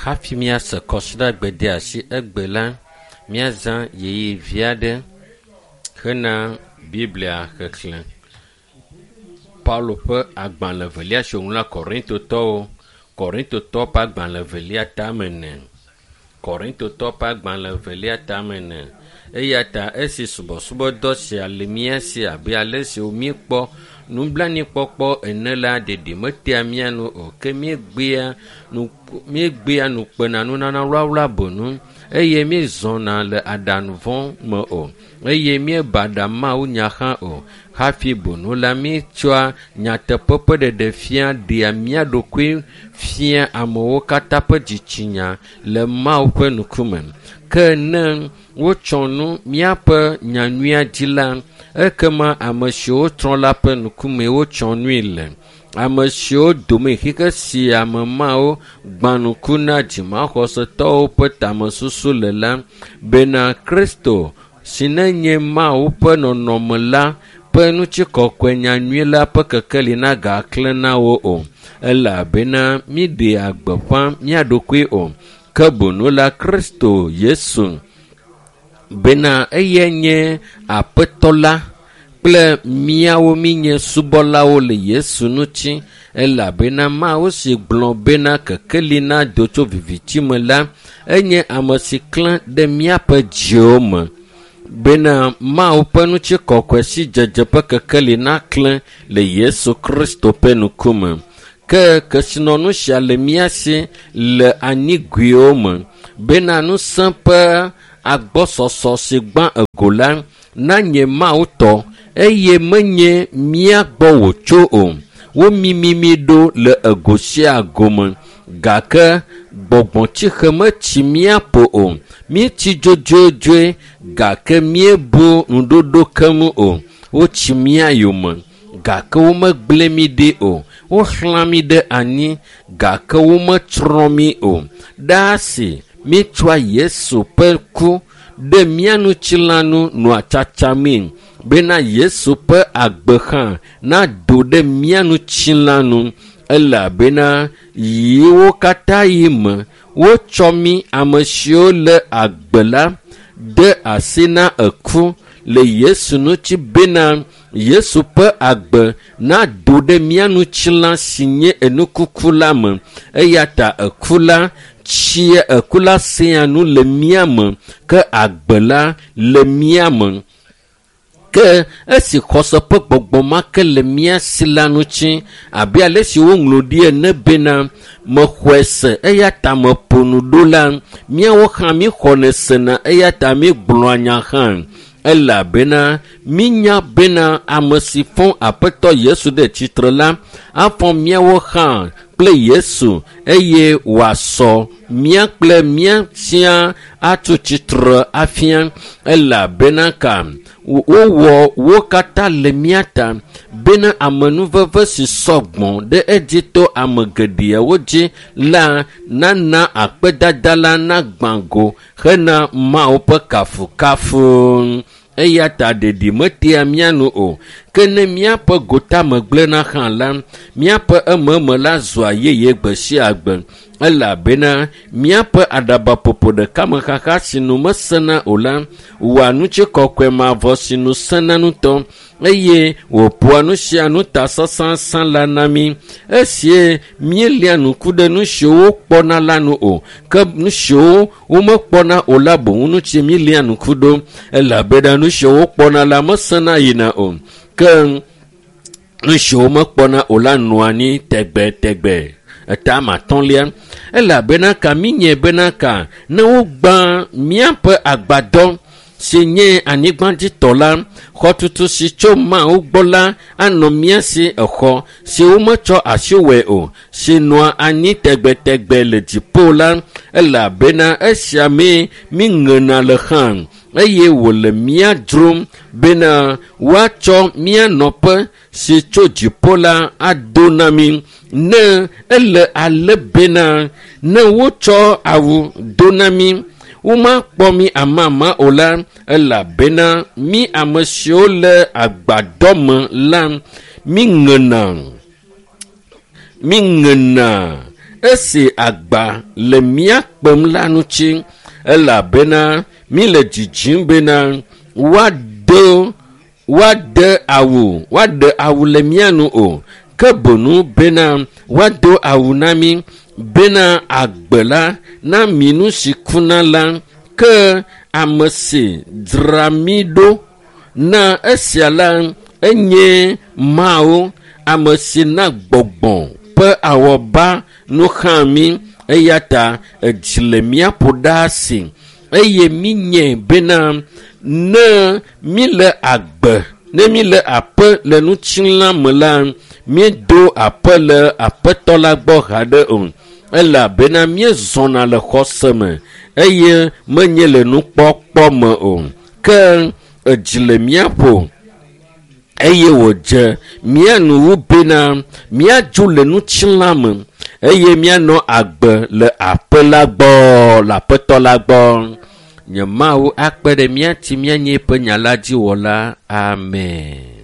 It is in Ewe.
Hafi míase kɔsiɖagbedeasi egbe la, míazã ɣeyiɣi vi aɖe hena Biblia xexlẽ. Paulo ƒe agbalẽ evelia si wòŋlɔ na Korintotɔwo, Korintotɔwo ƒe agbalẽ evelia tame ene. Korintotɔwo ƒe agbalẽ evelia tame ene. Eya ta esi subɔsubɔdɔ sia le mía si abe ale si míekpɔ nublanuikpɔkpɔ ene la, ɖeɖi metea mía nu o ke míegbea nu míegbea nukpena nunana wlawla boŋu eye míezɔna le aɖaŋu vɔ̃ me o eye míebaɖa Mawu nya hã o. Hafi boŋu la, míetsɔa nyateƒe ƒe ɖeɖefia ɖea mía ɖokui fia amewo katã ƒe dzitsinya le Mawu ƒe ŋkume. Ke ne wotsɔ nu míaƒe nyanyuia dzi la, ekema ame siwo trɔ la ƒe ŋkume wotsɔ nui le. Ame siwo dome xexe sia me mawo gbã ŋku na dzimaxɔsetɔwo ƒe tamesusu le la bena Kristo si nenye Mawu ƒe nɔnɔme la ƒe ŋutikɔkɔe nyanyui la ƒe kekeli nagaklẽ na wo o elabena míɖea gbeƒã mía ɖokui o ke boŋ la Kristo Yesu bena eyae nye Aƒetɔ la kple míawo míenye subɔlawo le Yesu ŋuti elabena Mawu si gblɔ bena kekeli nado tso viviti me la, enye ame si klẽ ɖe míaƒe dziwo me bena Mawu ƒe ŋutikɔkɔe si dzedze ƒe kekeli naklẽ le Yesu Kristo ƒe ŋkume. Ke kesinɔnu sia le mía si le anyigoewo me bena ŋusẽ ƒe agbɔsɔsɔ si gbã ego la nanye Mawu tɔ eye menye mía gbɔ wòtso o. Womimi mí ɖo le ego sia go me gake gbɔgbɔtsixe metsi mía ƒo o. Míetsi dzodzodzoe gake míebu ŋuɖoɖo keŋ o. Wotsi mía yome gake womegblẽ mí ɖi o. Woxlã mí ɖe anyi gake wometsrɔ̃ mí o. Ɖaa si míetsɔa Yesu ƒe ku ɖe mía ŋutilã nu nɔa tsatsamee bena Yesu ƒe agbe hã nado ɖe mía ŋutilã nu elabena yiwo katã yi me wotsɔ mí ame siwo le agbe la de asi na eku le Yesu ŋuti bena Yesu ƒe agbe nado ɖe mía ŋutilã si nye enukuku la me eya ta eku la tsia eku la sea nu le mía me ke agbe la le mía me. Ke esi xɔse ƒe gbɔgbɔ ma ke le mía si la ŋuti abe ale si woŋlɔ ɖi ene bena mexɔe se eya ta meƒo nu ɖo la, míawo hã míxɔnɛ sena eya ta míegblɔa nya hã elabena mínya bena ame si fɔ Aƒetɔ Yesu ɖe tsitre la afɔ míawo hã kple Yesu eye wòasɔ mía kple mía sia atso tsitre afia elabena ka wowɔ wo katã le mía ta bena amenuveve si sɔ gbɔ ɖe edzi to ame geɖewo dzi la nana akpedada la nagbã go hena Mawu ƒe kafukafu. Eya ta ɖeɖi metea mía nu o. Ke ne míaƒe gotame gblẽna hã la, míaƒe ememe la zua yeye gbe sia gbe elabena míaƒe aɖabaƒoƒo ɖeka me xaxa si nu mesena o la wɔa ŋutikɔkɔe mavɔ si nu sena ŋutɔ eye wòƒoa nu sia nu ta sãsãsã la na mí. Esie míelia ŋku ɖe nu siwo wokpɔna la nu o ke nu siwo womekpɔna o la boŋ ŋuti míelia ŋku ɖo elabena nu siwo wokpɔna la mesena yina o ke nu siwo womekpɔna o la nɔa anyi tegbetegbe. Etame atɔ̃lia elabena ka míenye bena ka ne wogbã míaƒe agbadɔ si nye anyigbadzitɔ la, xɔtutu si tso Mawu gbɔ la anɔ mía si exɔ si wometsɔ asi wɔe o, si nɔa anyi tegbetegbe le dziƒo la elabena esia mee míŋena le hã eye wòle mía dzrom bena woatsɔ mía nɔƒe si tso dziƒo la ado na mí ne ele ale bena ne wotsɔ awu do na mí womakpɔ mí amama o la elabena mí ame siwo le agbadɔ me la míŋena míŋena esi agba le mía kpem la ŋuti, elabena míle dzidzim bena woado woade awu woaɖe awu le mía nu o, ke boŋu bena woado awu na mí bena agbe la na mi nu si kuna la. Ke ame si dzra mí ɖo na esia la enye Mawu, ame si na gbɔgbɔ ƒe awɔba nu xlã mí. Eya ta edzi le mía ƒo ɖaa si eye míenyae bena ne míle agbe, ne míle aƒe le ŋutilã me la, míedo aƒe le Aƒetɔ la gbɔ haɖe o, elabena míezɔna le xɔse me eye menye le nukpɔkpɔ me o. Ke edzi le mía ƒo eye wòdze mía nu wu bena míadzo le ŋutilã me eye míanɔ agbe le aƒe la gbɔ, le Aƒetɔ la gbɔ. Nye Mawu akpe ɖe mía ŋuti míanye eƒe nya la dzi wɔla. Amen.